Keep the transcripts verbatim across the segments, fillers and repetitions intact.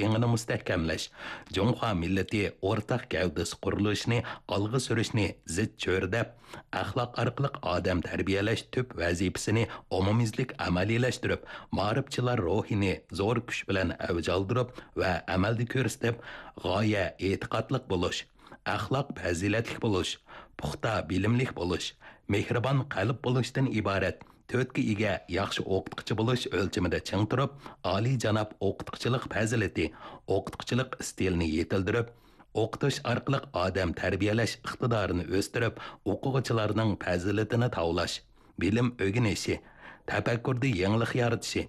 ئېڭىنى مۇستەھكەملەش، جۇڭخۇا مىللىتى ئورتاق گەۋدىسى قۇرۇلۇشىنى ئالغا سۈرۈشنى زىچ چۆرىدەپ، ئەخلاق ئارقىلىق ئادەم تەربىيەلەش تۈپ ۋەزىپىسىنى ئومۇميۈزلۈك ئەمەلىيلەشتۈرۈپ، مائارىپچىلار روھىنى زور كۈچ بىلەن ئەۋج ئالدۇرۇپ ۋە ئەمەلدە كۆرسىتىپ، غايە ئېتىقادلىق بولۇش، ئەخلاق پەزىلەتلىك بولۇش، پۇختا بىلىملىك بولۇش، مېھرىبان قەلب بولۇشتىن ئىبارەت تۆتكە ئىگە ياخشى ئوقۇتقۇچى بولۇش ئۆلچىمىدە چىڭ تۇرۇپ، ئالىيجاناب ئوقۇتقۇچىلىق پەزىلىتى، ئوقۇتقۇچىلىق ئىستىلىنى يېتىلدۈرۈپ، ئوقۇتۇش ئارقىلىق ئادەم تەربىيەلەش ئىقتىدارىنى ئۆستۈرۈپ، ئوقۇغۇچىلارنىڭ پەزىلىتىنى تاۋلاش، بىلىم ئۆگىنىشى، تەپەككۇردا يېڭىلىق يارىتىشى،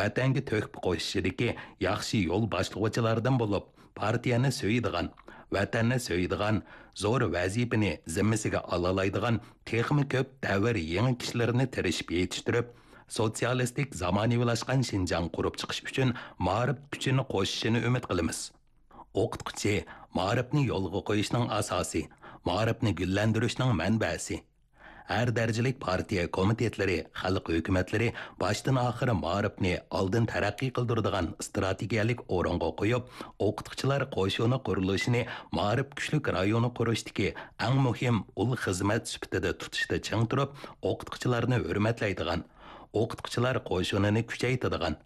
ۋەتەنگە تۆھپە قوشۇشىدىكى ياخشى يول باشلىغۇچىلاردىن بولۇپ، پارتىيەنى سۆيىدىغان، ۋەتەننى سۆيىدىغان، زور ۋەزىپىنى زىممىسىگە ئالالايدىغان تېخىمۇ كۆپ دەۋر يېڭى كىشىلىرىنى تىرىشىپ يېتىشتۈرۈپ، سوتسىيالىستىك زامانىۋىلاشقان شىنجاڭ قۇرۇپ چىقىش ئۈچۈن مائارىپ كۈچىنى قوشۇشىنى ئۈمىد قىلىمىز. ئوقۇتقۇچى مائارىپنى يولغا قويۇشنىڭ ئاساسى، مائارىپنى گۈللەندۈرۈشنىڭ مەنبەسى. ھەر دەرىجىلىك پارتىيە كومىتېتلىرى، خەلق ھۆكۈمەتلىرى باشتىن ئاخىر مائارىپنى ئالدىن تەرەققىي قىلدۇرىدىغان ئىستراتېگىيەلىك ئورۇنغا قويۇپ، ئوقۇتقۇچىلار قوشۇنى قۇرۇلۇشىنى مائارىپ كۈچلۈك رايونى قۇرۇشتىكى ئەڭ مۇھىم ئۇل خىزمەت سۈپىتىدە تۇتۇشتا چىڭ تۇرۇپ، ئوقۇتقۇچىلارنى ھۆرمەتلەيدىغان، ئوقۇتقۇچىلار قوشۇنىنى كۈچەيتىدىغان،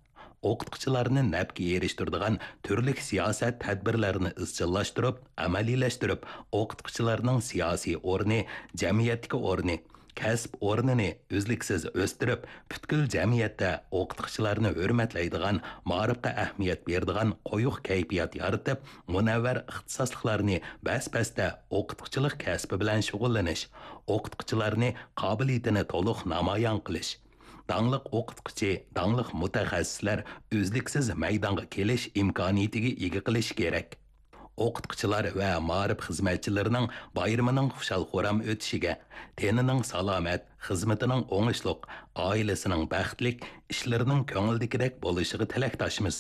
ئوقۇتقۇچىلارنى نەپكە ئېرىشتۈرىدىغان تۈرلۈك سىياسەت تەدبىرلەرنى ئىزچىللاشتۇرۇپ، ئەمەلىيلەشتۈرۈپ، ئوقۇتقۇچىلارنىڭ سىياسىي ئورنى، جەمئىيەتتىكى ئورنى، كەسىپ ئورنىنى ئۈزلۈكسىز ئۆستۈرۈپ، پۈتكۈل جەمئىيەتتە ئوقۇتقۇچىلارنى ھۆرمەتلەيدىغان، مائارىپقا ئەھمىيەت بېرىدىغان قويۇق كەيپىيات يارىتىپ، مۇنەۋۋەر ئىختىساسلىقلارنى بەس-بەستە ئوقۇتقۇچىلىق كەسپى بىلەن شۇغۇللىنىش، ئوقۇتقۇچىلارنى قابىلىيىتىنى تولۇق نامايان قىلىش، داڭلىق ئوقۇتقۇچى، داڭلىق مۇتەخەسسىسلەر ئۈزلۈكسىز مەيدانغا كېلىش ئىمكانىيىتىگە ئىگە قىلىشى كېرەك. ئوقۇتقۇچىلار ۋە مائارىپ خىزمەتچىلىرىنىڭ بايرىمىنىڭ خۇشال-خۇرام ئۆتۈشىگە، تېنىنىڭ سالامەت، خىزمىتىنىڭ ئوڭۇشلۇق، ئائىلىسىنىڭ بەختلىك، ئىشلىرىنىڭ كۆڭۈلدىكىدەك بولۇشىغا تىلەكداشمىز.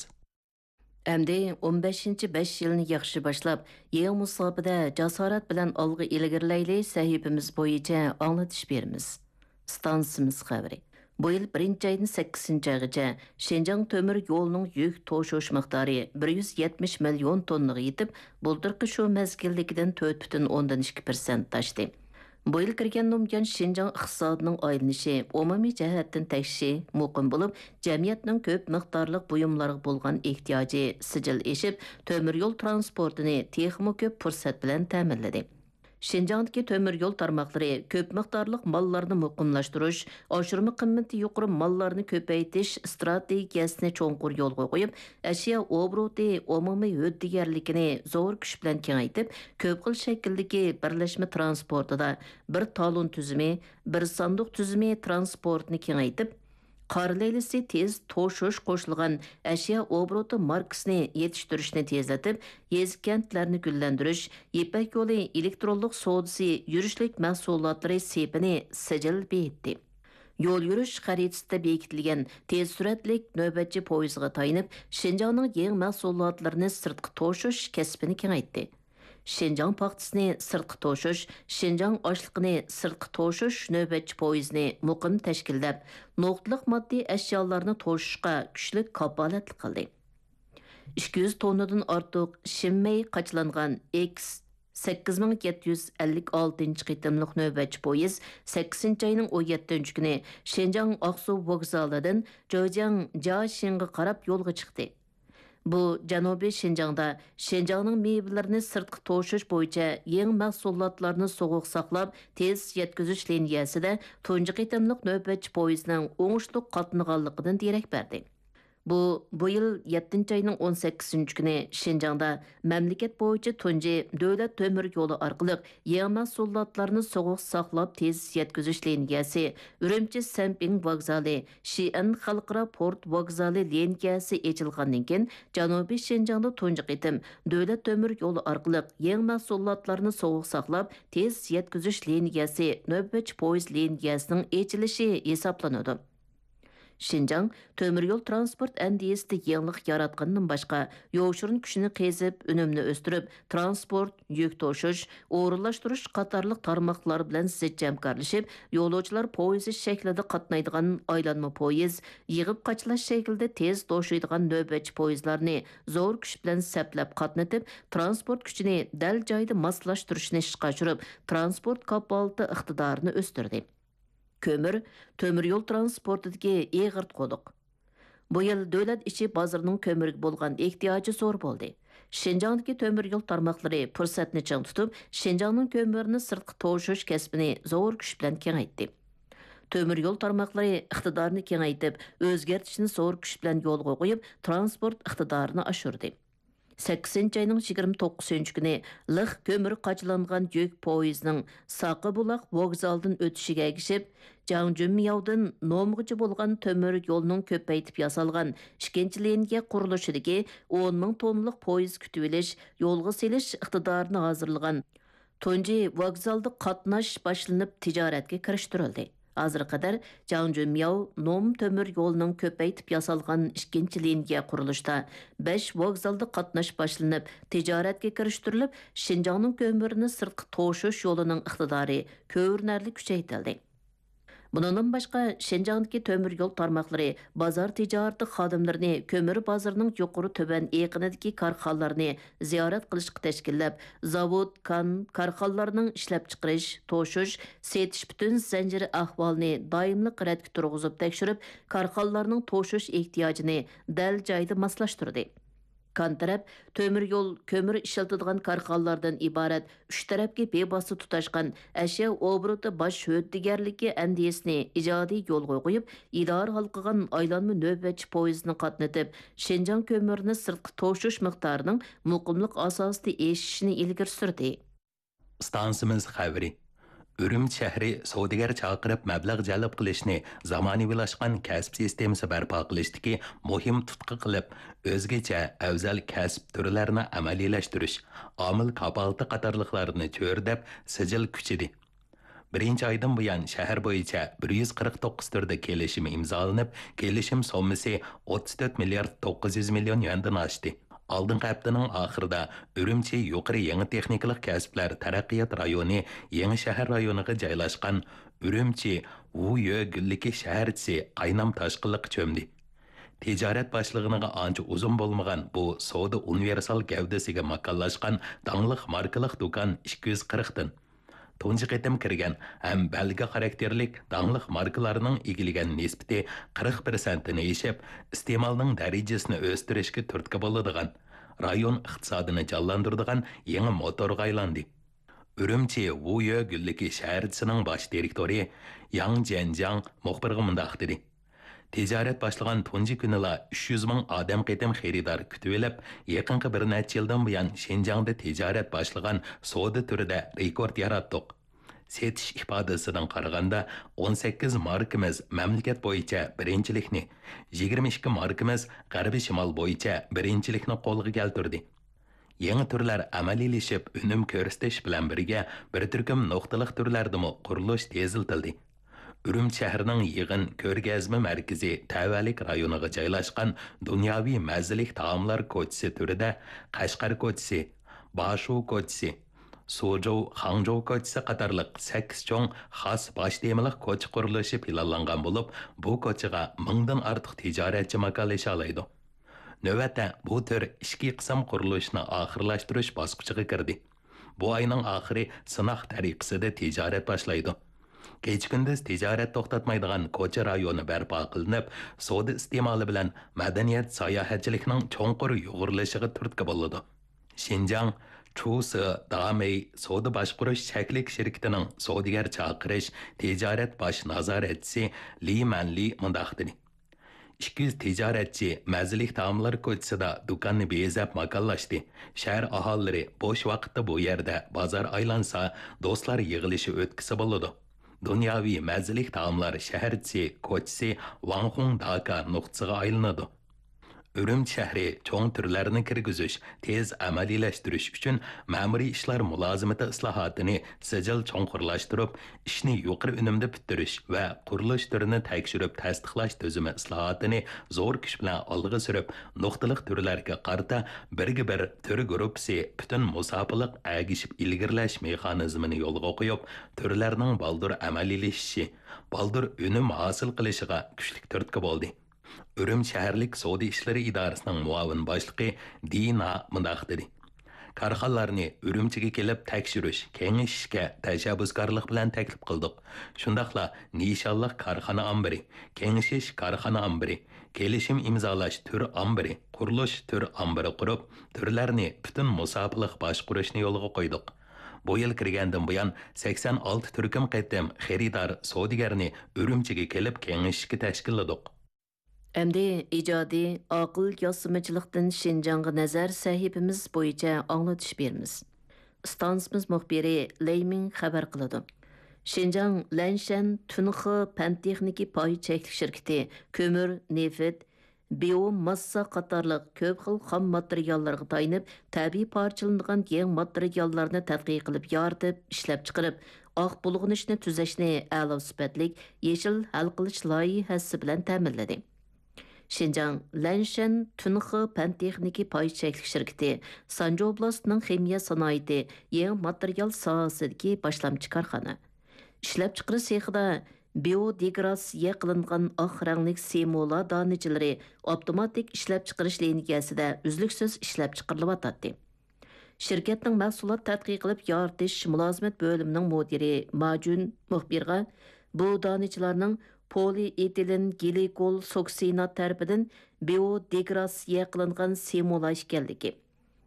ئەمدى ئون بەشىنچى بەش يىلنى ياخشى باشلاپ، يېڭى مۇساپىدە جاسارەت بىلەن ئالغا ئىلگىرىلەيلى سەھىپىمىز بويىچە ئاڭلىتىش بېرىمىز. ئىستانسىمىز خەۋىرى. بۇ يىل بىرىنچى ئايدىن سەككىزىنچى ئايغىچە شىنجاڭ تۆمۈر يولىنىڭ يۈك توشۇش مىقدارى بىر يۈز يەتمىش مىليون توننىغا يېتىپ، بۇلتۇرقى شۇ مەزگىلدىكىدىن تۆت پۈتۈن ئوندىن ئىككى پىرسەنت ئاشتى. بۇ يىل كىرگەندىن بۇيان شىنجاڭ ئىقتىسادىنىڭ ئايلىنىشى ئومۇمىي جەھەتتىن تەكشى، مۇقىم بولۇپ، جەمئىيەتنىڭ كۆپ مىقدارلىق بۇيۇملارغا بولغان ئېھتىياجى سىجىل ئېشىپ، تۆمۈر يول ترانسپورتىنى تېخىمۇ كۆپ پۇرسەت بىلەن تەمىنلىدى. شىنجاڭدىكى تۆمۈر يول تارماقلىرى كۆپ مىقدارلىق ماللارنى مۇقىملاشتۇرۇش، ئاشۇرما قىممىتى يۇقىرى ماللارنى كۆپەيتىش ئىستراتېگىيەسىنى چوڭقۇر يولغا قويۇپ، ئەشيا ئوبوروتى ئومۇمىي ھۆددىگەرلىكىنى زور كۈچ بىلەن كېڭەيتىپ، كۆپ خىل شەكىلدىكى بىرلەشمە ترانسپورتىدا بىر تالون تۈزۈمى، بىر ساندۇق تۈزۈمى ترانسپورتىنى كېڭەيتىپ، قارا لەيلىسى تېز توشۇش قوشۇلغان ئەشيا ئوبوروتى ماركىسىنى يېتىشتۈرۈشنى تېزلىتىپ، يېزا، كەنتلەرنى گۈللەندۈرۈش، يىپەك يولى ئېلېكترونلۇق سودىسى يۈرۈشلۈك مەھسۇلاتلىرى سېپىنى سىجىل بېيىتتى. يول يۈرۈش خەرىتىسىدە بېكىتىلگەن تېز سۈرئەتلىك نۆۋەتچى پويىزىغا تايىنىپ، شىنجاڭنىڭ يېڭى مەھسۇلاتلىرىنى سىرتقا توشۇش كەسپىنى كېڭەيتتى. شىنجاڭ پاختىسىنى سىرتقا توشۇش، شىنجاڭ ئاشلىقىنى سىرتقا توشۇش نۆۋەتچى پويىزىنى مۇقىم تەشكىللەپ، نۇقتىلىق ماددىي ئەشيالارنى توشۇشقا كۈچلۈك كاپالەتلىك قىلدى. ئىككى يۈز توننىدىن ئارتۇق شىنمەي قاچىلانغان ئېكس سەككىز مىڭ يەتتە يۈز ئەللىك ئالتىنچى قېتىملىق نۆۋەتچى پويىز سەككىزىنچى ئاينىڭ ئون يەتتىنچى كۈنى شىنجاڭ ئاقسۇ ۋوگزالىدىن جېجياڭ جياشىڭغا قاراپ يولغا چىقتى. بۇ جەنۇبىي شىنجاڭدا شىنجاڭنىڭ مېۋىلىرىنى سىرتقا توشۇش بويىچە يېڭى مەھسۇلاتلارنى سوغۇق ساقلاپ تېز يەتكۈزۈش لىنىيەسىدە تۇنجى قېتىملىق نۆۋەتچى پويىزنىڭ ئوڭۇشلۇق قاتنىغانلىقىدىن دېرەك بەردى. بۇ، بۇ يىل يەتتىنچى ئاينىڭ ئون سەككىزىنچى كۈنى شىنجاڭدا مەملىكەت بويىچە تۇنجى دۆلەت تۆمۈر يولى ئارقىلىق يېڭى مەھسۇلاتلارنى سوغۇق ساقلاپ تېز يەتكۈزۈش لىنىيەسى، ئۈرۈمچى سەنپىڭ ۋوگزالى، شىئەن خەلقئارا پورت ۋوگزالى لىنىيەسى ئېچىلغاندىن كېيىن، جەنۇبىي شىنجاڭدا تۇنجى قېتىم دۆلەت تۆمۈر يولى ئارقىلىق يېڭى مەھسۇلاتلارنى سوغۇق ساقلاپ تېز يەتكۈزۈش لىنىيەسى، نۆۋەتچى پويىز لىنىيەسىنىڭ ئېچىلىشى ھېسابلىنىدۇ. شىنجاڭ تۆمۈر يول ترانسپورت ئەندىزىسىدە يېڭىلىق ياراتقىنىدىن باشقا، يوشۇرۇن كۈچىنى قېزىپ، ئۈنۈمنى ئۆستۈرۈپ، ترانسپورت، يۈك توشۇش، ئورۇنلاشتۇرۇش قاتارلىق تارماقلار بىلەن زىچ ھەمكارلىشىپ، يولۇچىلار پويىزى شەكلىدە قاتنايدىغان ئايلانما پويىز، يىغىپ قاچىلاش شەكلىدە تېز توشۇيدىغان نۆۋەتچى پويىزلارنى زور كۈچ بىلەن سەپلەپ قاتنىتىپ، ترانسپورت كۈچىنى دەل جايىدا ماسلاشتۇرۇشنى ئىشقا ئاشۇرۇپ، ترانسپورت كاپالىتى ئىقتىدارىنى ئۆستۈردى. كۆمۈر، تۆمۈر يول ترانسپورتىدىكى ئېغىر قۇدۇق. بۇ يىل دۆلەت ئىچى بازىرىنىڭ كۆمۈرگە بولغان ئېھتىياجى زور بولدى. شىنجاڭدىكى تۆمۈر يول تارماقلىرى پۇرسەتنى چىڭ تۇتۇپ، شىنجاڭنىڭ كۆمۈرىنى سىرتقا توشۇش كەسپىنى زور كۈچ بىلەن كېڭەيتتى. تۆمۈر يول تارماقلىرى ئىقتىدارنى كېڭەيتىپ، ئۆزگەرتىشنى زور كۈچ بىلەن يولغا قويۇپ، ترانسپورت ئىقتىدارىنى ئاشۇردى. سەككىزىنچى ئاينىڭ يىگىرمە توققۇزىنچى كۈنى لىق كۆمۈر قاچىلانغان يۈك پويىزىنىڭ ساقىبۇلاق ۋوگزالىدىن ئۆتۈشىگە ئەگىشىپ، جاڭجۈنمياۋدىن نومغىچە بولغان تۆمۈر يولنىڭ كۆپەيتىپ ياسالغان ئىككىنچى لىنىيە قۇرۇلۇشىدىكى ئون مىڭ توننىلىق پويىز كۈتۈۋېلىش، يولغا سېلىش ئىقتىدارىنى ھازىرلىغان تۇنجى ۋوگزالدا قاتناش باشلىنىپ تىجارەتكە كىرىشتۈرۈلدى. ھازىرغا قەدەر جاڭجۈنمياۋ نوم تۆمۈر يولىنىڭ كۆپەيتىپ ياسالغان ئىككىنچى لىنىيە قۇرۇلۇشىدا بەش ۋوگزالدا قاتناش باشلىنىپ تىجارەتكە كىرىشتۈرۈلۈپ، شىنجاڭنىڭ كۆمۈرىنى سىرتقا توشۇش يولىنىڭ ئىقتىدارى كۆرۈنەرلىك كۈچەيتىلدى. بۇنىڭدىن باشقا، شىنجاڭدىكى تۆمۈر يول تارماقلىرى بازار تىجارىتى خادىملىرىنى كۆمۈر بازىرىنىڭ يۇقىرى تۆۋەن ئېقىنىدىكى كارخانىلارنى زىيارەت قىلىشقا تەشكىللەپ، زاۋۇت، كان، كارخانىلارنىڭ ئىشلەپچىقىرىش، توشۇش، سېتىش پۈتۈن زەنجىرى ئەھۋالىنى دائىملىق رەتكە تۇرغۇزۇپ تەكشۈرۈپ، كارخانىلارنىڭ توشۇش ئېھتىياجىنى دەل جايىدا ماسلاشتۇردى. كان تەرەپ تۆمۈر يول، كۆمۈر ئىشلىتىدىغان كارخانىلاردىن ئىبارەت ئۈچ تەرەپكە بىۋاسىتە تۇتاشقان ئەشيا ئوبوروتى باش ھۆددىگەرلىكى ئەندىزىسىنى ئىجادىي يولغا قويۇپ، ئىدارە ھالقىغان ئايلانما نۆۋەتچى پويىزىنى قاتنىتىپ، شىنجاڭ كۆمۈرىنى سىرتقا توشۇش مىقدارىنىڭ مۇقىملىق ئاساسىدا ئېشىشىنى ئىلگىرى سۈردى. ئىستانسىمىز خەۋىرى. ئۈرۈمچى شەھىرى سودىگەر چاقىرىپ مەبلەغ جەلپ قىلىشنى زامانىۋىلاشقان كەسىپ سىستېمىسى بەرپا قىلىشتىكى مۇھىم تۇتقا قىلىپ، ئۆزگىچە ئەۋزەل كەسىپ تۈرلەرنى ئەمەلىيلەشتۈرۈش، ئامىل كاپالىتى قاتارلىقلارنى چۆرىدەپ سىجىل كۈچىدى. بىرىنچى ئايدىن بۇيان، شەھەر بويىچە بىر يۈز قىرىق توققۇز تۈردە كېلىشىم ئىمزالىنىپ، كېلىشىم سوممىسى ئوتتۇز تۆت مىليارد توققۇز يۈز مىليون يۈەندىن ئاشتى. ئالدىنقى ھەپتىنىڭ ئاخىرىدا ئۈرۈمچى يۇقىرى يېڭى تېخنىكىلىق كەسىپلەر تەرەققىيات رايونى يېڭى شەھەر رايونىغا جايلاشقان ئۈرۈمچى ۋۇيۆ گۈللۈكى شەھەرچىسى قاينام تاشقىنلىققا چۆمدى. تىجارەت باشلىغىنىغا ئانچە ئۇزۇن بولمىغان بۇ سودا ئۇنىۋېرسال گەۋدىسىگە ماكانلاشقان داڭلىق ماركىلىق دۇكان ئىككى يۈز قىرىقتىن تۇنجى قېتىم كىرگەن ھەم بەلگە خاراكتېرلىك داڭلىق ماركىلارنىڭ ئىگىلىگەن نىسبىتى قىرىق پىرسەنتتىن ئېشىپ، ئىستېمالنىڭ دەرىجىسىنى ئۆستۈرۈشكە تۈرتكە بولىدىغان، رايون ئىقتىسادىنى جانلاندۇرىدىغان يېڭى موتورغا ئايلاندى. ئۈرۈمچى ۋۇيۆ گۈللۈكى شەھەرچىسىنىڭ باش دىرېكتورى ياڭ جيەنجياڭ مۇخبىرغا مۇنداق دېدى: تىجارەت باشلىغان تۇنجى كۈنىلا ئۈچ يۈز مىڭ ئادەم قېتىم خېرىدار كۈتۈۋېلىپ، يېقىنقى بىر نەچچە يىلدىن بۇيان شىنجاڭدا تىجارەت باشلىغان سودا تۈرىدە رېكورت ياراتتۇق. سېتىش ئىپادىسىدىن قارىغاندا، ئون سەككىز ماركىمىز مەملىكەت بويىچە بىرىنچىلىكنى، يىگىرمە ئىككى ماركىمىز غەربىي شىمال بويىچە بىرىنچىلىكنى قولغا كەلتۈردى. يېڭى تۈرلەر ئەمەلىيلىشىپ، ئۈنۈم كۆرسىتىش بىلەن بىرگە، بىر تۈركۈم نۇقتىلىق تۈرلەردىمۇ قۇرۇلۇش تېزلىتىلدى. ئۈرۈمچى شەھىرىنىڭ يىغىن كۆرگەزمە مەركىزى تەۋەلىك رايونىغا جايلاشقان دۇنياۋى مەززىلىك تائاملار كوچىسى تۈرىدە قەشقەر كوچىسى، باشۇ كوچىسى، سۇجۇ، خاڭجۇ كوچىسى قاتارلىق سەككىز چوڭ خاس باش تېمىلىق كوچا قۇرۇلۇشى پىلانلانغان بولۇپ، بۇ كوچىغا مىڭدىن ئارتۇق تىجارەتچى ماكانلىشالايدۇ. نۆۋەتتە بۇ تۈر ئىچكى قىسىم قۇرۇلۇشىنى ئاخىرلاشتۇرۇش باسقۇچىغا كىردى. بۇ ئاينىڭ ئاخىرى سىناق تەرىقىسىدە تىجارەت باشلايدۇ. كېچە-كۈندۈز تىجارەت توختاتمايدىغان كوچا رايونى بەرپا قىلىنىپ، سودا ئىستېمالى بىلەن مەدەنىيەت ساياھەتچىلىكنىڭ چوڭقۇر يۇغۇرۇلۇشىغا تۈرتكە بولىدۇ. شىنجاڭ چۇسې دامېي سودا باشقۇرۇش چەكلىك شىركىتىنىڭ سودىگەر چاقىرىش تىجارەت باش نازارەتچىسى لى مەنلى مۇنداق دېدى: ئىككى يۈز تىجارەتچى مەززىلىك تائاملار كوچىسىدا دۇكاننى بېزەپ ماكانلاشتى. شەھەر ئاھالىلىرى بوش ۋاقىتتا بۇ يەردە بازار ئايلانسا، دوستلار يىغىلىشى ئۆتكۈسى بولىدۇ. دۇنياۋى مەززىلىك تائاملار شەھەرچىسى كوچىسى ۋاڭخۇڭ داكا نۇقتىسىغا ئايلىنىدۇ. ئۈرۈمچى شەھىرى چوڭ تۈرلەرنى كىرگۈزۈش، تېز ئەمەلىيلەشتۈرۈش ئۈچۈن مەمۇرىي ئىشلار مۇلازىمىتى ئىسلاھاتىنى سىجىل چوڭقۇرلاشتۇرۇپ، ئىشنى يۇقىرى ئۈنۈمدە پۈتتۈرۈش ۋە قۇرۇلۇش تۈرىنى تەكشۈرۈپ تەستىقلاش تۈزۈمى ئىسلاھاتىنى زور كۈچ بىلەن ئالغا سۈرۈپ، نۇقتىلىق تۈرلەرگە قارىتا بىرگە بىر تۈر گۇرۇپپىسى پۈتۈن مۇساپىلىق ئەگىشىپ ئىلگىرىلەش مېخانىزمىنى يولغا قويۇپ، تۈرلەرنىڭ بالدۇر ئەمەلىيلىشىشى، بالدۇر ئۈنۈم ھاسىل قىلىشىغا كۈچلۈك تۈرتكە بولدى. ئۈرۈمچى شەھەرلىك سودا ئىشلىرى ئىدارىسىنىڭ مۇئاۋىن باشلىقى دىنا مۇنداق دېدى: كارخانىلارنى ئۈرۈمچىگە كېلىپ تەكشۈرۈش، كېڭىشىشكە تەشەببۇسكارلىق بىلەن تەكلىپ قىلدۇق. شۇنداقلا نىشانلىق كارخانا ئامبىرى، كېڭىشىش كارخانا ئامبىرى، كېلىشىم ئىمزالاش تۈر ئامبىرى، قۇرۇلۇش تۈر ئامبىرى قۇرۇپ، تۈرلەرنى پۈتۈن مۇساپىلىق باشقۇرۇشنى يولغا قويدۇق. بۇ يىل كىرگەندىن بۇيان، سەكسەن ئالتە تۈركۈم قېتىم خېرىدار سودىگەرنى ئۈرۈمچىگە كېلىپ كېڭىشىشكە تەشكىللىدۇق. ئەمدى ئىجادىي، ئاقىل ياسىمىچىلىقتىن شىنجاڭغا نەزەر سەھىپىمىز بويىچە ئاڭلىتىش بېرىمىز. ئىستانسىمىز مۇخبىرى لەي مىڭ خەۋەر قىلىدۇ. شىنجاڭ لەنشەن تۈنخې پەن تېخنىكا پاي چەكلىك شىركىتى كۆمۈر، نېفىت، بىيوماسسا قاتارلىق كۆپ خىل خام ماتېرىياللارغا تايىنىپ، تەبىئىي پارچىلىنىدىغان يېڭى ماتېرىياللارنى تەتقىق قىلىپ يارىتىپ، ئىشلەپچىقىرىپ، ئاق بۇلغىنىشنى تۈزەشنى ئەلا سۈپەتلىك يېشىل ھەل قىلىش لايىھەسى بىلەن تەمىنلىدى. شىنجاڭ لەنشەن تۈنخې پەن تېخنىكا پاي چەكلىك شىركىتى سانجى ئوبلاستىنىڭ خىمىيە سانائىتى يېڭى ماتېرىيال ساھەسىدىكى باشلامچى كارخانا. ئىشلەپچىقىرىش سېخىدا بىيودېگراداتسىيە قىلىنغان ئاق رەڭلىك سېمولا دانىچىلىرى ئاپتوماتىك ئىشلەپچىقىرىش لىنىيەسىدە ئۈزلۈكسىز ئىشلەپچىقىرىلىۋاتاتتى. شىركەتنىڭ مەھسۇلات تەتقىق قىلىپ يارىتىش مۇلازىمەت بۆلۈمىنىڭ مۇدىرى ماجۈن مۇخبىرغا بۇ دانىچىلارنىڭ پولىئېتىلېن گلىكول سۇكسىنات تەرىپىدىن بىيودېگراداتسىيە قىلىنغان سېمولا ئىكەنلىكى،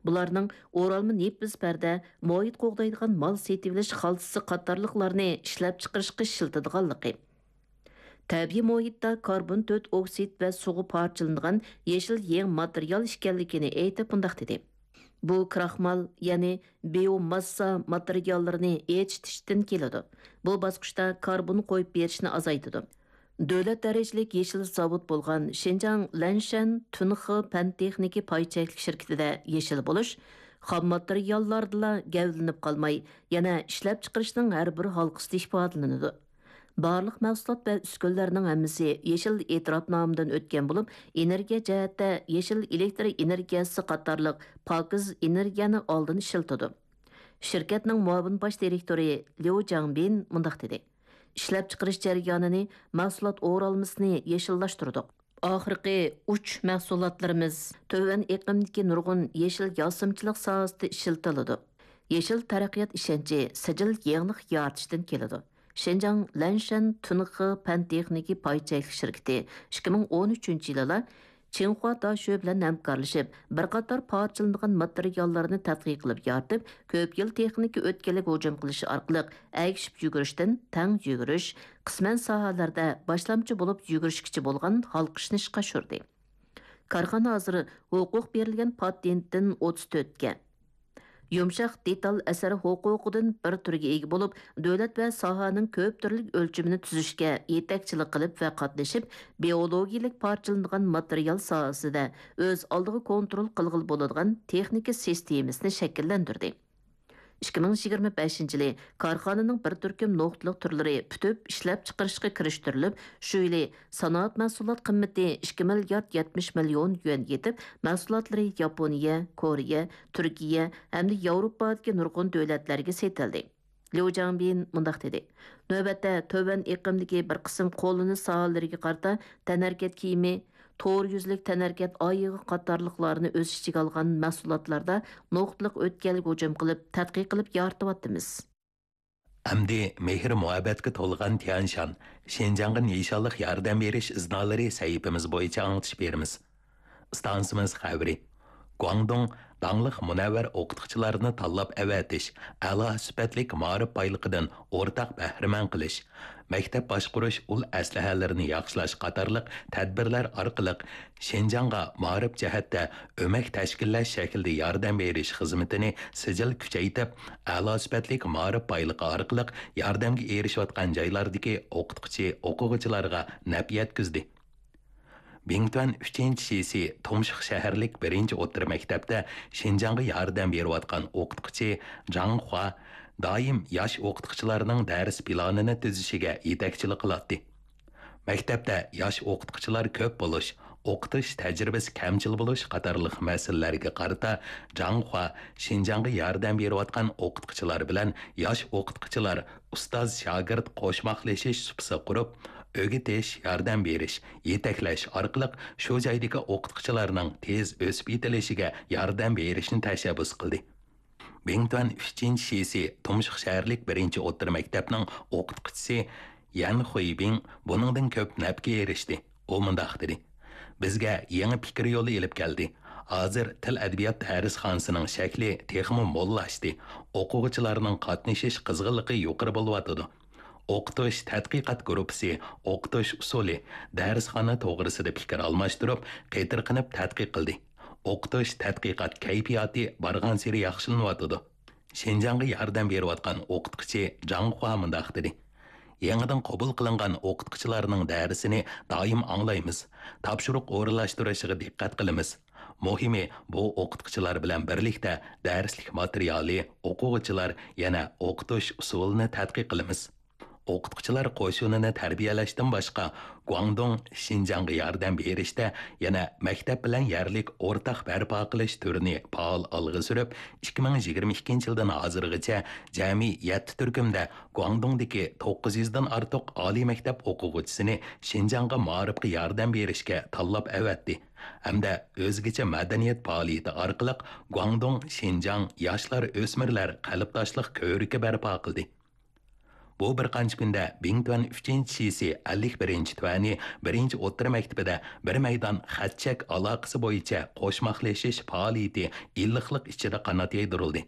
بۇلارنىڭ ئورالما نېپىز پەردە، مۇھىت قوغدايدىغان مال سېتىۋېلىش خالتىسى قاتارلىقلارنى ئىشلەپچىقىرىشقا ئىشلىتىدىغانلىقى، تەبىئىي مۇھىتتا كاربون تۆت ئوكسىد ۋە سۇغا پارچىلىنىدىغان يېشىل يېڭى ماتېرىيال ئىكەنلىكىنى ئېيتىپ مۇنداق دېدى: بۇ كراخمال، يەنى بىيوماسسا ماتېرىياللىرىنى ئېچىتىشتىن كېلىدۇ. بۇ باسقۇچتا كاربون قويۇپ بېرىشنى ئازايتىدۇ. دۆلەت دەرىجىلىك يېشىل زاۋۇت بولغان شىنجاڭ لەنشەن تۈنخې پەن تېخنىكا پاي چەكلىك شىركىتىدە يېشىل بولۇش خام ماتېرىياللاردىلا گەۋدىلىنىپ قالماي، يەنە ئىشلەپچىقىرىشنىڭ ھەر بىر ھالقىسىدا ئىپادىلىنىدۇ. بارلىق مەھسۇلات ۋە ئۈسكۈنىلەرنىڭ ھەممىسى يېشىل ئېتىراپنامىدىن ئۆتكەن بولۇپ، ئېنېرگىيە جەھەتتە يېشىل ئېلېكتر ئېنېرگىيەسى قاتارلىق پاكىز ئېنېرگىيەنى ئالدىن ئىشلىتىدۇ. شىركەتنىڭ مۇئاۋىن باش دىرېكتورى ليۇ جاڭبىن مۇنداق دېدى: ئىشلەپچىقىرىش جەريانىنى، مەھسۇلات ئورالمىسىنى يېشىللاشتۇردۇق. ئاخىرقى ئۇچ مەھسۇلاتلىرىمىز تۆۋەن ئېقىمدىكى نۇرغۇن يېشىل ياسىمىچىلىق ساھەسىدە ئىشلىتىلىدۇ. يېشىل تەرەققىيات ئىشەنچى سىجىل يېڭىلىق يارىتىشتىن كېلىدۇ. شىنجاڭ لەنشەن تۈنخې پەن تېخنىكا پاي چەكلىك شىركىتى ئىككى مىڭ ئون ئۈچىنچى يىلىلا چىڭخۇا داشۆ بىلەن ھەمكارلىشىپ، بىر قاتار پارچىلىنىدىغان ماتېرىياللارنى تەتقىق قىلىپ يارىتىپ، كۆپ يىل تېخنىكا ئۆتكەللىك ھۇجۇم قىلىشى ئارقىلىق ئەگىشىپ يۈگۈرۈشتىن تەڭ يۈگۈرۈش، قىسمەن ساھەلەردە باشلامچى بولۇپ يۈگۈرۈشكىچە بولغان ھالقىشنى ئىشقا ئاشۇردى. كارخانا ھازىر ھوقۇق بېرىلگەن پاتېنتتىن ئوتتۇز تۆتكە، يۇمشاق دېتال ئەسەر ھوقۇقىدىن بىر تۈرگە ئىگە بولۇپ، دۆلەت ۋە ساھەنىڭ كۆپ تۈرلۈك ئۆلچىمىنى تۈزۈشكە يېتەكچىلىك قىلىپ ۋە قاتنىشىپ، بىئولوگىيەلىك پارچىلىنىدىغان ماتېرىيال ساھەسىدە ئۆز ئالدىغا كونترول قىلغىلى بولىدىغان تېخنىكا سىستېمىسىنى شەكىللەندۈردى. ئىككى مىڭ يىگىرمە بەشىنچى يىلى كارخانىنىڭ بىر تۈركۈم نۇقتىلىق تۈرلىرى پۈتۈپ ئىشلەپچىقىرىشقا كىرىشتۈرۈلۈپ، شۇ يىلى سانائەت مەھسۇلات قىممىتى ئىككى مىليارد يەتمىش مىليون يۈەن يېتىپ، مەھسۇلاتلىرى ياپونىيە، كورېيە، تۈركىيە ھەمدە ياۋروپادىكى نۇرغۇن دۆلەتلەرگە سېتىلدى. ليۇ جاڭبىن مۇنداق دېدى: نۆۋەتتە تۆۋەن ئېقىمدىكى بىر قىسىم قوللىنىش ساھەلىرىگە قارىتا تەنھەرىكەت كىيىمى، تور يۈزلۈك تەنھەرىكەت ئايىغى قاتارلىقلارنى ئۆز ئىچىگە ئالغان مەھسۇلاتلاردا نۇقتىلىق ئۆتكەلگە ھۇجۇم قىلىپ، تەتقىق قىلىپ يارىتىۋاتىمىز. ئەمدى مېھىر-مۇھەببەتكە تولغان تيەنشان، شىنجاڭغا نىشانلىق ياردەم بېرىش ئىزنالىرى سەھىپىمىز بويىچە ئاڭلىتىش بېرىمىز. ئىستانسىمىز خەۋىرى. گۇاڭدۇڭ داڭلىق مۇنەۋۋەر ئوقۇتقۇچىلارنى تاللاپ ئەۋەتىش، ئەلا سۈپەتلىك مائارىپ بايلىقىدىن ئورتاق بەھرىمەن قىلىش، مەكتەپ باشقۇرۇش ئۇل ئەسلىھەلىرىنى ياخشىلاش قاتارلىق تەدبىرلەر ئارقىلىق شىنجاڭغا مائارىپ جەھەتتە ئۆمەك تەشكىللەش شەكلىدە ياردەم بېرىش خىزمىتىنى سىجىل كۈچەيتىپ، ئەلا سۈپەتلىك مائارىپ بايلىقى ئارقىلىق ياردەمگە ئېرىشىۋاتقان جايلاردىكى ئوقۇتقۇچى، ئوقۇغۇچىلارغا نەپ يەتكۈزدى. بىڭتۈەن ئۈچىنچى شىسى تۇمشۇق شەھەرلىك بىرىنچى ئوتتۇرا مەكتەپتە شىنجاڭغا ياردەم بېرىۋاتقان ئوقۇتقۇچى جاڭ خۇا دائىم ياش ئوقۇتقۇچىلارنىڭ دەرس پىلانىنى تۈزۈشىگە يېتەكچىلىك قىلاتتى. مەكتەپتە ياش ئوقۇتقۇچىلار كۆپ بولۇش، ئوقۇتۇش تەجرىبىسى كەمچىل بولۇش قاتارلىق مەسىلىلەرگە قارىتا جاڭ خۇا شىنجاڭغا ياردەم بېرىۋاتقان ئوقۇتقۇچىلار بىلەن ياش ئوقۇتقۇچىلار ئۇستاز-شاگىرت قوشماقلىشىش سۇپىسى قۇرۇپ، ئۆگىتىش، ياردەم بېرىش، يېتەكلەش ئارقىلىق شۇ جايدىكى ئوقۇتقۇچىلارنىڭ تېز ئۆسۈپ يېتىلىشىگە ياردەم بېرىشنى تەشەببۇس قىلدى. بىڭتۈەن ئۈچىنچى شىسى تۇمشۇق شەھەرلىك بىرىنچى ئوتتۇرا مەكتەپنىڭ ئوقۇتقۇچىسى يەن خۇيبىڭ بۇنىڭدىن كۆپ نەپكە ئېرىشتى. ئۇ مۇنداق دېدى: «بىزگە يېڭى پىكىر يولى ئېلىپ كەلدى. ھازىر تىل-ئەدەبىيات دەرسخانىسىنىڭ شەكلى تېخىمۇ موللاشتى، ئوقۇغۇچىلارنىڭ قاتنىشىش قىزغىنلىقى يۇقىرى بولۇۋاتىدۇ.» ئوقۇتۇش تەتقىقات گۇرۇپپىسى ئوقۇتۇش ئۇسۇلى، دەرسخانا توغرىسىدا پىكىر ئالماشتۇرۇپ، قېتىرقىنىپ تەتقىق قىلدى. ئوقۇتۇش تەتقىقات كەيپىياتى بارغانسېرى ياخشىلىنىۋاتىدۇ. شىنجاڭغا ياردەم بېرىۋاتقان ئوقۇتقۇچى جاڭ خۇا مۇنداق دېدى: «يېڭىدىن قوبۇل قىلىنغان ئوقۇتقۇچىلارنىڭ دەرسىنى دائىم ئاڭلايمىز، تاپشۇرۇق ئورۇنلاشتۇرۇشىغا دىققەت قىلىمىز. مۇھىمى، بۇ ئوقۇتقۇچىلار بىلەن بىرلىكتە دەرسلىك ماتېرىيالى، ئوقۇغۇچىلار، يەنە ئوقۇتۇش ئۇسۇلىنى تەتقىق قىلىمىز.» ئوقۇتقۇچىلار قوشۇنىنى تەربىيەلەشتىن باشقا، گۇاڭدۇڭ شىنجاڭغا ياردەم بېرىشتە يەنە مەكتەپ بىلەن يەرلىك ئورتاق بەرپا قىلىش تۈرىنى پائال ئالغا سۈرۈپ، ئىككى مىڭ يىگىرمە ئىككىنچى يىلدىن ھازىرغىچە جەمئىي يەتتە تۈركۈمدە گۇاڭدۇڭدىكى توققۇز يۈزدىن ئارتۇق ئالىي مەكتەپ ئوقۇغۇچىسىنى شىنجاڭغا مائارىپقا ياردەم بېرىشكە تاللاپ ئەۋەتتى ھەمدە ئۆزگىچە مەدەنىيەت پائالىيىتى ئارقىلىق گۇاڭدۇڭ شىنجاڭ ياشلار ئۆسمۈرلەر قەلبداشلىق كۆۋرۈكى بەرپا قىلدى. بۇ بىر قانچە كۈندە بىڭتۈەن ئۈچىنچى شىسى ئەللىك بىرىنچى تۈەنى بىرىنچى ئوتتۇرا مەكتىپىدە بىر مەيدان خەت-چەك ئالاقىسى بويىچە قوشماقلىشىش پائالىيىتى ئىللىقلىق ئىچىدە قانات يايدۇرۇلدى.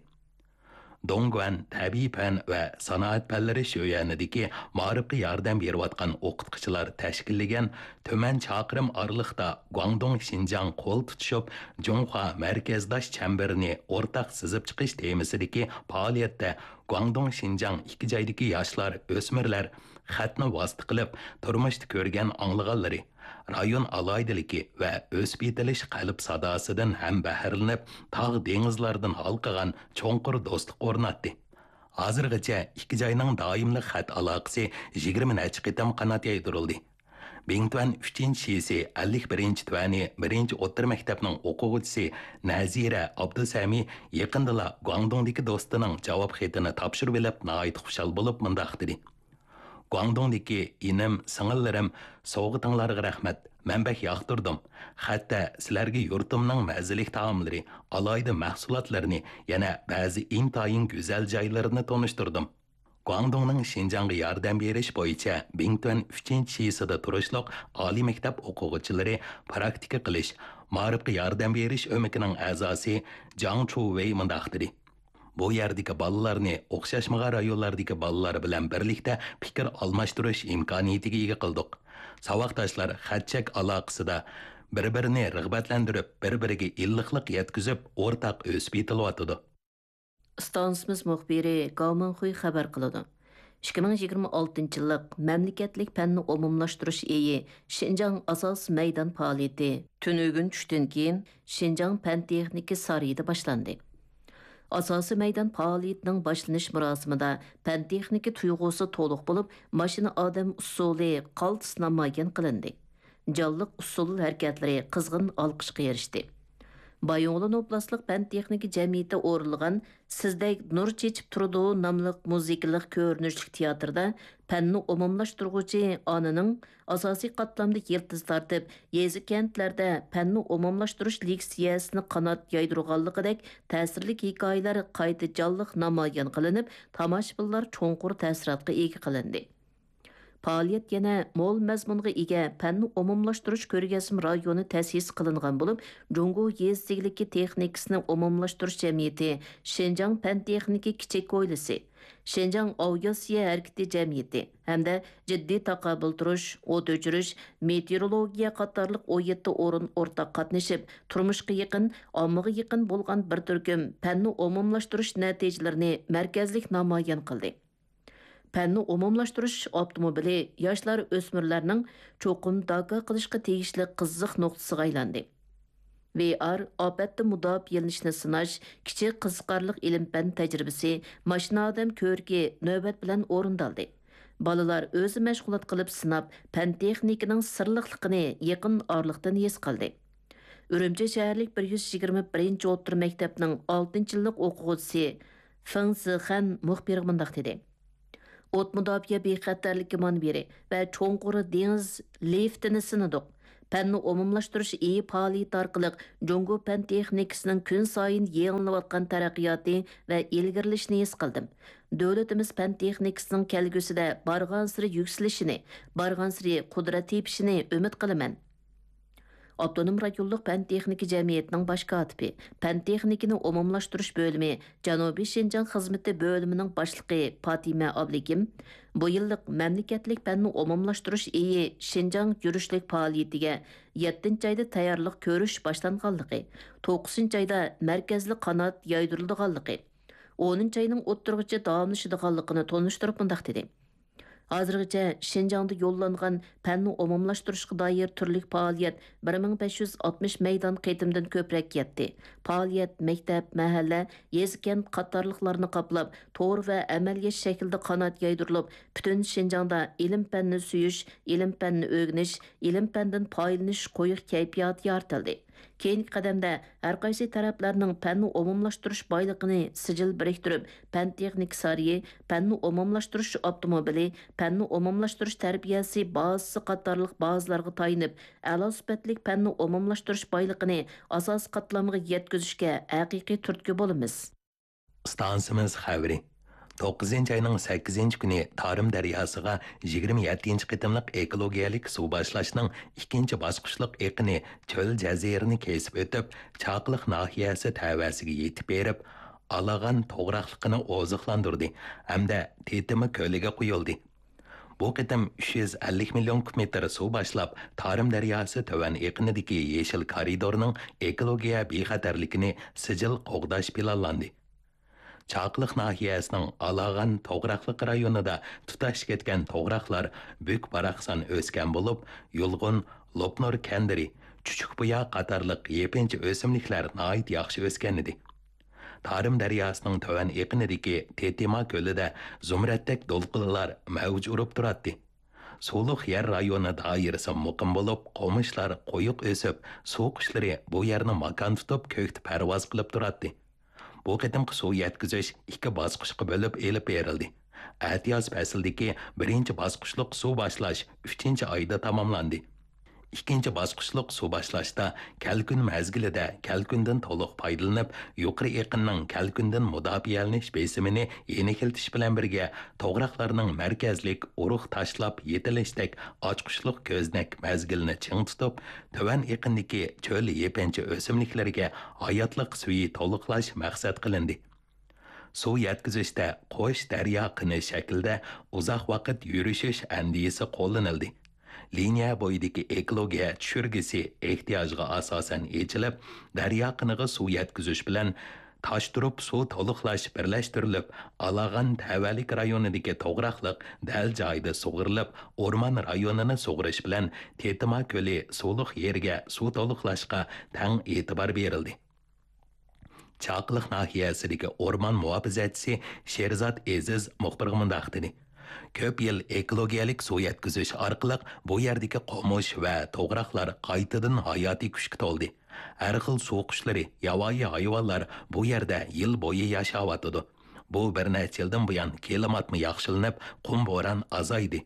دوڭگۇەن تەبىئىي پەن ۋە سانائەت پەنلىرى شۆيۈەنىدىكى مائارىپقا ياردەم بېرىۋاتقان ئوقۇتقۇچىلار تەشكىللىگەن تۈمەن چاقىرىم ئارىلىقتا گۇاڭدۇڭ شىنجاڭ قول تۇتۇشۇپ، جۇڭخۇا مەركەزداش چەمبىرىنى ئورتاق سىزىپ چىقىش تېمىسىدىكى پائالىيەتتە گۇاڭدۇڭ شىنجاڭ ئىككى جايدىكى ياشلار، ئۆسمۈرلەر خەتنى ۋاسىتە قىلىپ تۇرمۇشتا كۆرگەن ئاڭلىغانلىرى، رايون ئالاھىدىلىكى ۋە ئۆسۈپ يېتىلىش قەلب ساداسىدىن ھەم بەھرىلىنىپ، تاغ دېڭىزلاردىن ھالقىغان چوڭقۇر دوستلۇق ئورناتتى. ھازىرغىچە ئىككى جاينىڭ دائىملىق خەت ئالاقىسى يىگىرمە نەچچە قېتىم قانات يايدۇرۇلدى. بىڭتۈەن ئۈچىنچى شىسى ئەللىك بىرىنچى تۈەنى بىرىنچى ئوتتۇرا مەكتەپنىڭ ئوقۇغۇچىسى نەزىرە ئابدۇسەمى يېقىندىلا گۇاڭدۇڭدىكى دوستىنىڭ جاۋاب خېتىنى تاپشۇرۇۋېلىپ ناھايىتى خۇشال بولۇپ مۇنداق دېدى: «گۇاڭدۇڭدىكى ئىنىم، سىڭىللىرىم، سوۋغىتىڭلارغا رەھمەت، مەن بەك ياقتۇردۇم. خەتتە سىلەرگە يۇرتۇمنىڭ مەززىلىك تائاملىرى، ئالاھىدە مەھسۇلاتلىرىنى، يەنە بەزى ئىنتايىن گۈزەل جايلىرىنى تونۇشتۇردۇم.» گۇاڭدۇڭنىڭ شىنجاڭغا ياردەم بېرىش بويىچە بىڭتۈەن ئۈچىنچى شىسىدا تۇرۇشلۇق ئالىي مەكتەپ ئوقۇغۇچىلىرى پراكتىكا قىلىش، مائارىپقا ياردەم بېرىش ئۆمىكىنىڭ ئەزاسى جاڭ چۇۋېي مۇنداق دېدى: «بۇ يەردىكى بالىلارنى ئوخشاشمىغان رايونلاردىكى بالىلار بىلەن بىرلىكتە پىكىر ئالماشتۇرۇش ئىمكانىيىتىگە ئىگە قىلدۇق. ساۋاقداشلار خەت-چەك ئالاقىسىدا بىر-بىرىنى رىغبەتلەندۈرۈپ، بىر-بىرىگە ئىللىقلىق يەتكۈزۈپ، ئورتاق ئۆسۈپ يېتىلىۋاتىدۇ.» ئىستانسىمىز مۇخبىرى گاۋ مىڭخۇي خەۋەر قىلىدۇ. ئىككى مىڭ يىگىرمە ئالتىنچى يىللىق مەملىكەتلىك پەننى ئومۇملاشتۇرۇش ئېيى شىنجاڭ ئاساسىي مەيدان پائالىيىتى تۈنۈگۈن چۈشتىن كېيىن شىنجاڭ پەن-تېخنىكا سارىيىدا باشلاندى. ئاساسىي مەيدان پائالىيىتىنىڭ باشلىنىش مۇراسىمىدا پەن-تېخنىكا تۇيغۇسى تولۇق بولۇپ، ماشىنا ئادەم ئۇسسۇلى قالتىس نامايان قىلىندى. جانلىق ئۇسسۇل ھەرىكەتلىرى قىزغىن ئالقىشقا ئېرىشتى. بايىنغولىن ئوبلاستلىق پەن-تېخنىكا جەمئىيىتى ئورۇنلىغان سىزدەك نۇر چېچىپ تۇرىدۇ ناملىق مۇزىكىلىق كۆرۈنۈشلۈك تىياتىردا پەننى ئومۇملاشتۇرغۇچى ئانىنىڭ ئاساسىي قاتلامدا يىلتىز تارتىپ، يېزا-كەنتلەردە پەننى ئومۇملاشتۇرۇش لېكسىيەسىنى قانات يايدۇرغانلىقىدەك تەسىرلىك ھېكايىلەر قايتا جانلىق نامايان قىلىنىپ، تاماشىبىنلار چوڭقۇر تەسىراتقا ئىگە قىلىندى. پائالىيەت يەنە مول مەزمۇنغا ئىگە پەننى ئومۇملاشتۇرۇش كۆرگەزمە رايونى تەسىس قىلىنغان بولۇپ، جۇڭگو يېزا ئىگىلىكى تېخنىكىسىنى ئومۇملاشتۇرۇش جەمئىيىتى، شىنجاڭ پەن-تېخنىكا كىچىك ھويلىسى، شىنجاڭ ئاۋىئاتسىيە ھەرىكىتى جەمئىيىتى ھەمدە جىددىي تاقابىل تۇرۇش، ئوت ئۆچۈرۈش، مېتېئورولوگىيە قاتارلىق ئون يەتتە ئورۇن ئورتاق قاتنىشىپ، تۇرمۇشقا يېقىن، ئاممىغا يېقىن بولغان بىر تۈركۈم پەننى ئومۇملاشتۇرۇش نەتىجىلىرىنى مەركەزلىك نامايان قىلدى. پەننى ئومۇملاشتۇرۇش ئاپتوموبىلى ياشلار، ئۆسمۈرلەرنىڭ چوقۇم داكا قىلىشقا تېگىشلىك قىزىق نۇقتىسىغا ئايلاندى. ۋي ئار ئاپەتتىن مۇداپىئەلىنىشنى سىناش كىچىك قىزىقارلىق ئىلىم-پەن تەجرىبىسى ماشىنا ئادەم كۆركى نۆۋەت بىلەن ئورۇندالدى. بالىلار ئۆزى مەشغۇلات قىلىپ سىناپ، پەن-تېخنىكىنىڭ سىرلىقلىقىنى يېقىن ئارىلىقتىن ھېس قىلدى. ئۈرۈمچى شەھەرلىك بىر يۈز يىگىرمە بىرىنچى ئوتتۇرا مەكتەپنىڭ ئالتىنچى يىللىق ئوقۇغۇچىسى فېڭ زىخەن مۇخبىرغا مۇنداق دېدى: ئوت مۇداپىئە بىخەتەرلىكى مۇنبىرى ۋە چوڭقۇر دېڭىز لىفتىنى سىنىدۇق. پەننى ئومۇملاشتۇرۇش ئېيى پائالىيىتى ئارقىلىق جۇڭگو پەن تېخنىكىسىنىڭ كۈنسايىن يېڭىلىنىۋاتقان تەرەققىياتى ۋە ئىلگىرىلىشىنى ھېس قىلدىم. دۆلىتىمىز پەن تېخنىكىسىنىڭ كەلگۈسىدە بارغانسېرى يۈكسىلىشىنى، بارغانسېرى قۇدرەت تېپىشىنى ئۈمىد قىلىمەن. ئاپتونوم رايونلۇق پەن تېخنىكا جەمئىيىتىنىڭ باش كاتىپى، پەن تېخنىكىنى ئومۇملاشتۇرۇش بۆلۈمى جەنۇبىي شىنجاڭ خىزمىتى بۆلۈمىنىڭ باشلىقى پاتىمە ئابلىكىم بۇ يىللىق مەملىكەتلىك پەننى ئومۇملاشتۇرۇش ئېيى شىنجاڭ يۈرۈشلۈك پائالىيىتىگە يەتتىنچى ئايدا تەييارلىق كۆرۈش باشلانغانلىقى، توققۇزىنچى ئايدا مەركەزلىك قانات يايدۇرۇلىدىغانلىقى، ئونىنچى ئاينىڭ ئوتتۇرىغىچە داۋاملىشىدىغانلىقىنى تونۇشتۇرۇپ مۇنداق دېدى: ھازىرغىچە شىنجاڭدا يوللانغان پەننى ئومۇملاشتۇرۇشقا دائىر تۈرلۈك پائالىيەت بىر مىڭ بەش يۈز ئاتمىش مەيدان قېتىمدىن كۆپرەك يەتتى. پائالىيەت مەكتەپ، مەھەللە، يېزا-كەنت قاتارلىقلارنى قاپلاپ، تور ۋە ئەمەلىيەت شەكلىدە قانات يايدۇرۇلۇپ، پۈتۈن شىنجاڭدا ئىلىم-پەننى سۆيۈش، ئىلىم-پەننى ئۆگىنىش، ئىلىم-پەندىن پايدىلىنىش قويۇق كەيپىياتى يارىتىلدى. كېيىنكى قەدەمدە ھەرقايسى تەرەپلەرنىڭ پەننى ئومۇملاشتۇرۇش بايلىقىنى سىجىل بىرىكتۈرۈپ، پەن-تېخنىكا سارىيى، پەننى ئومۇملاشتۇرۇش ئاپتوموبىلى، پەننى ئومۇملاشتۇرۇش تەربىيەسى بازىسى قاتارلىق بازىلارغا تايىنىپ، ئەلا سۈپەتلىك پەننى ئومۇملاشتۇرۇش بايلىقىنى ئاساسىي قاتلامغا يەتكۈزۈشكە ھەقىقىي تۈرتكە بولىمىز. ئىستانسىمىز خەۋىرى. توققۇزىنچى ئاينىڭ سەككىزىنچى كۈنى تارىم دەرياسىغا يىگىرمە يەتتىنچى قېتىملىق ئېكولوگىيەلىك سۇ باشلاشنىڭ ئىككىنچى باسقۇچلۇق ئېقىنى چۆل جەزىرىنى كېسىپ ئۆتۈپ، چاقىلىق ناھىيەسى تەۋەسىگە يېتىپ بېرىپ، ئالاغان توغراقلىقىنى ئوزۇقلاندۇردى ھەمدە تېتىما كۆلىگە قۇيۇلدى. بۇ قېتىم ئۈچ يۈز ئەللىك مىليون كۇب مېتىر سۇ باشلاپ، تارىم دەرياسى تۆۋەن ئېقىنىدىكى يېشىل كارىدورنىڭ ئېكولوگىيە بىخەتەرلىكىنى سىجىل قوغداش پىلانلاندى. چاقىلىق ناھىيەسىنىڭ ئالاغان توغراقلىق رايونىدا تۇتاش كەتكەن توغراقلار بۈك-باراقسان ئۆسكەن بولۇپ، يۇلغۇن، لوپنۇر كەندىرى، چۈچۈكبۇيا قاتارلىق يېپىنچا ئۆسۈملۈكلەر ناھايىتى ياخشى ئۆسكەنىدى. تارىم دەرياسىنىڭ تۆۋەن ئېقىنىدىكى تېتىما كۆلىدە زۇمرەتتەك دولقۇنلار مەۋج ئۇرۇپ تۇراتتى. سۇلۇق يەر رايونى دائىرىسى مۇقىم بولۇپ، قومۇشلار قويۇق ئۆسۈپ، سۇ قۇشلىرى بۇ يەرنى ماكان تۇتۇپ، كۆكتە پەرۋاز قىلىپ تۇراتتى. بۇ قېتىمقى سۇ يەتكۈزۈش ئىككى باسقۇچقا بۆلۈپ ئېلىپ بېرىلدى. ئەتىياز پەسلىدىكى بىرىنچى باسقۇچلۇق سۇ باشلاش ئۈچىنچى ئايدا تاماملاندى. ئىككىنچى باسقۇچلۇق سۇ باشلاشتا كەلكۈن مەزگىلىدە كەلكۈندىن تولۇق پايدىلىنىپ، يۇقىرى ئېقىننىڭ كەلكۈندىن مۇداپىئەلىنىش بېسىمىنى يېنىكلىتىش بىلەن بىرگە، توغراقلارنىڭ مەركەزلىك ئۇرۇق تاشلاپ يېتىلىشتەك ئاچقۇچلۇق كۆزنەك مەزگىلىنى چىڭ تۇتۇپ، تۆۋەن ئېقىندىكى چۆل يېپىنچا ئۆسۈملۈكلىرىگە ھاياتلىق سۈيى تولۇقلاش مەقسەت قىلىندى. سۇ يەتكۈزۈشتە قوش دەريا قىنى شەكلىدە ئۇزاق ۋاقىت يۈرۈشۈش ئەندىزىسى قوللىنىلدى. لىنىيە بويىدىكى ئېكولوگىيە چۈشۈرگۈسى ئېھتىياجغا ئاساسەن ئېچىلىپ، دەريا قىنىغا سۇ يەتكۈزۈش بىلەن تاشتۇرۇپ سۇ تولۇقلاش بىرلەشتۈرۈلۈپ، ئالاغان تەۋەلىك رايونىدىكى توغراقلىق دەل جايىدا سۇغىرىلىپ، ئورمان رايونىنى سۇغىرىش بىلەن تېتىما كۆلى سۇلۇق يېرىگە سۇ تولۇقلاشقا تەڭ ئېتىبار بېرىلدى. چاقىلىق ناھىيەسىدىكى ئورمان مۇھاپىزەتچىسى شېرزات ئېزىز مۇخبىرغا مۇنداق دېدى: كۆپ يىل ئېكولوگىيەلىك سۇ يەتكۈزۈش ئارقىلىق بۇ يەردىكى قومۇش ۋە توغراقلار قايتىدىن ھاياتىي كۈچكە تولدى. ھەر خىل سۇ قۇشلىرى، ياۋايى ھايۋانلار بۇ يەردە يىل بويى ياشاۋاتىدۇ. بۇ بىر نەچچە يىلدىن بۇيان كىلىماتمۇ ياخشىلىنىپ، قۇم بوران ئازايدى.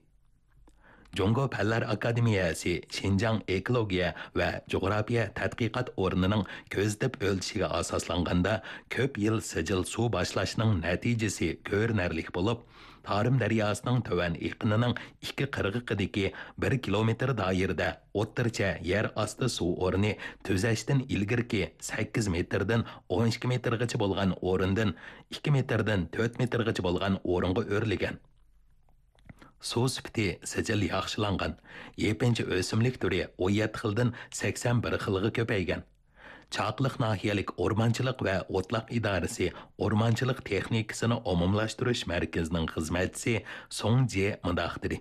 جۇڭگو پەنلەر ئاكادېمىيەسى شىنجاڭ ئېكولوگىيە ۋە جۇغراپىيە تەتقىقات ئورنىنىڭ كۆزىتىپ ئۆلچىشىگە ئاساسلانغاندا، كۆپ يىل سىجىل سۇ باشلاشنىڭ نەتىجىسى كۆرۈنەرلىك بولۇپ، تارىم دەرياسىنىڭ تۆۋەن ئېقىنىنىڭ ئىككى قىرغىقىدىكى بىر كىلومېتىر دائىرىدە ئوتتۇرىچە يەر ئاستى سۇ ئورنى تۈزەشتىن ئىلگىرىكى سەككىز مېتىردىن ئون ئىككى مېتىرغىچە بولغان ئورۇندىن ئىككى مېتىردىن تۆت مېتىرغىچە بولغان ئورۇنغا ئۆرلىگەن. سۇ سۈپىتى سىجىل ياخشىلانغان، يېپىنچا ئۆسۈملۈك تۈرى ئون يەتتە خىلدىن سەكسەن بىر خىلغا كۆپەيگەن. چاقىلىق ناھىيەلىك ئورمانچىلىق ۋە ئوتلاق ئىدارىسى ئورمانچىلىق تېخنىكىسىنى ئومۇملاشتۇرۇش مەركىزىنىڭ خىزمەتچىسى سۇڭ جې مۇنداق دېدى: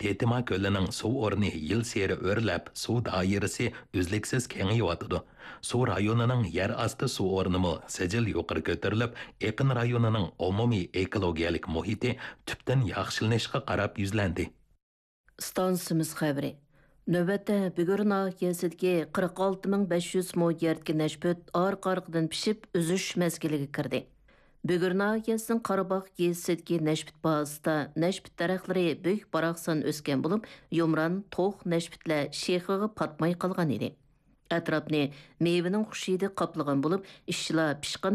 تېتىما كۆلىنىڭ سۇ ئورنى يىلسېرى ئۆرلەپ، سۇ دائىرىسى ئۈزلۈكسىز كېڭىيىۋاتىدۇ. سۇ رايونىنىڭ يەر ئاستى سۇ ئورنىمۇ سىجىل يۇقىرى كۆتۈرۈلۈپ، ئېقىن رايونىنىڭ ئومۇمىي ئېكولوگىيەلىك مۇھىتى تۈپتىن ياخشىلىنىشقا قاراپ يۈزلەندى. ئىستانسىمىز خەۋىرى. نۆۋەتتە بۈگۈر ناھىيەسىدىكى قىرىق ئالتە مىڭ بەش يۈز مو يەردىكى نەشپۈت ئارقا-ئارقىدىن پىشىپ، ئۈزۈش مەزگىلىگە كىردى. بۈگۈر ناھىيەسىنىڭ قاراباغ يېزىسىدىكى نەشپۈت بازىسىدا نەشپۈت دەرەخلىرى بۈك-باراقسان ئۆسكەن بولۇپ، يۇمران، توخ نەشپۈتلەر شېخىغا پاتماي قالغان ئىدى. ئەتراپنى مېۋىنىڭ خۇش ھىدى قاپلىغان بولۇپ، ئىشچىلار پىشقان